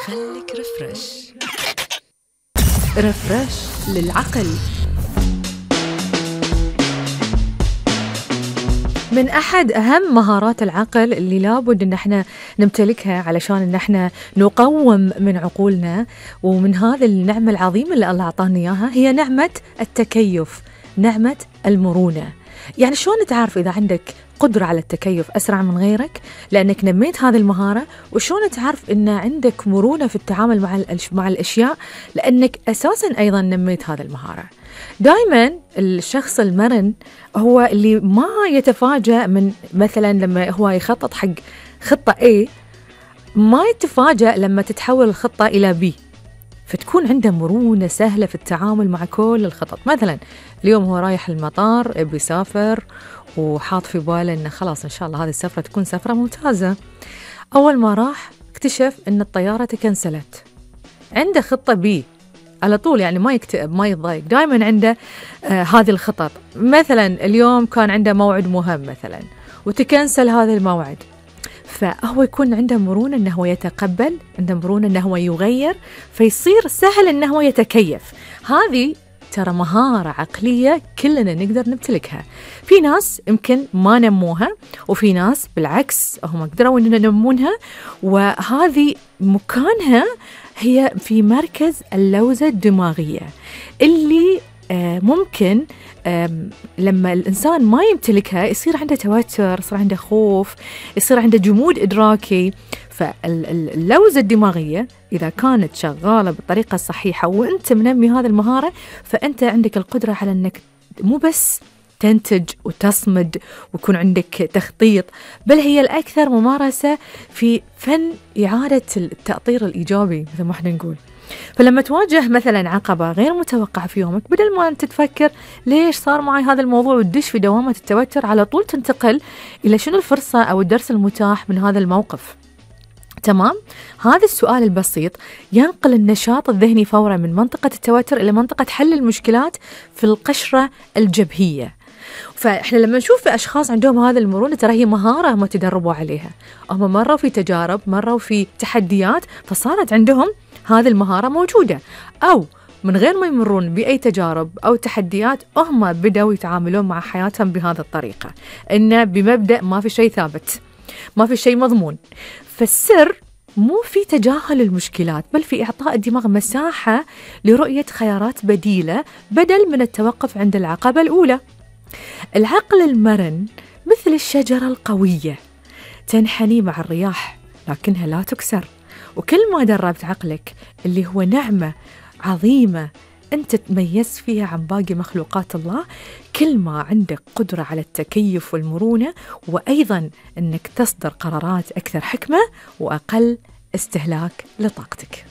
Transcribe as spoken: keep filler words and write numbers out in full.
خليك رفرش رفرش للعقل. من أحد أهم مهارات العقل اللي لابد إن احنا نمتلكها علشان إن احنا نقوم من عقولنا، ومن هذا النعمة العظيمة اللي الله أعطانا إياها، هي نعمة التكيف، نعمة المرونة. يعني شلون تعرف إذا عندك قدرة على التكيف أسرع من غيرك؟ لأنك نميت هذه المهارة. وشلون تعرف إن عندك مرونة في التعامل مع مع الأشياء؟ لأنك أساساً أيضاً نميت هذه المهارة. دائماً الشخص المرن هو اللي ما يتفاجأ من مثلاً لما هو يخطط حق خطة A، ما يتفاجأ لما تتحول الخطة إلى B، فتكون عنده مرونة سهلة في التعامل مع كل الخطط. مثلاً اليوم هو رايح المطار، يبي يسافر وحاط في باله إنه خلاص إن شاء الله هذه السفرة تكون سفرة ممتازة. أول ما راح اكتشف إن الطيارة تكنسلت، عنده خطة بي على طول، يعني ما يكتئب ما يتضايق، دائما عنده آه هذه الخطط. مثلا اليوم كان عنده موعد مهم مثلا وتكنسل هذا الموعد، فهو يكون عنده مرونة أنه هو يتقبل، عنده مرونة أنه هو يغير، فيصير سهل أنه هو يتكيف. هذه ترى مهارة عقلية كلنا نقدر نمتلكها. في ناس يمكن ما نموها، وفي ناس بالعكس هم قدروا أن ينمونها، وهذه مكانها هي في مركز اللوزة الدماغية، اللي ممكن لما الإنسان ما يمتلكها يصير عنده توتر، يصير عنده خوف، يصير عنده جمود إدراكي. فاللوزة الدماغية إذا كانت شغالة بالطريقة الصحيحة وأنت منمي هذه المهارة، فأنت عندك القدرة على أنك مو بس تنتج وتصمد ويكون عندك تخطيط، بل هي الأكثر ممارسة في فن إعادة التأطير الإيجابي مثل ما احنا نقول. فلما تواجه مثلا عقبة غير متوقعة في يومك، بدل ما أنت تفكر ليش صار معي هذا الموضوع وتدش في دوامة التوتر، على طول تنتقل إلى شنو الفرصة أو الدرس المتاح من هذا الموقف. تمام؟ هذا السؤال البسيط ينقل النشاط الذهني فورا من منطقة التوتر إلى منطقة حل المشكلات في القشرة الجبهية. فإحنا لما نشوف في أشخاص عندهم هذا المرونة، ترى هي مهارة هم تدربوا عليها، هم مروا في تجارب، مروا في تحديات، فصارت عندهم هذه المهارة موجودة، أو من غير ما يمرون بأي تجارب أو تحديات هم بدأوا يتعاملون مع حياتهم بهذه الطريقة، إنه بمبدأ ما في شيء ثابت، ما في شيء مضمون. فالسر مو في تجاهل المشكلات، بل في إعطاء الدماغ مساحة لرؤية خيارات بديلة بدل من التوقف عند العقبة الأولى. العقل المرن مثل الشجرة القوية، تنحني مع الرياح لكنها لا تكسر. وكل ما دربت عقلك اللي هو نعمة عظيمة أنت تميز فيها عن باقي مخلوقات الله، كل ما عندك قدرة على التكيف والمرونة، وأيضا أنك تصدر قرارات أكثر حكمة وأقل استهلاك لطاقتك.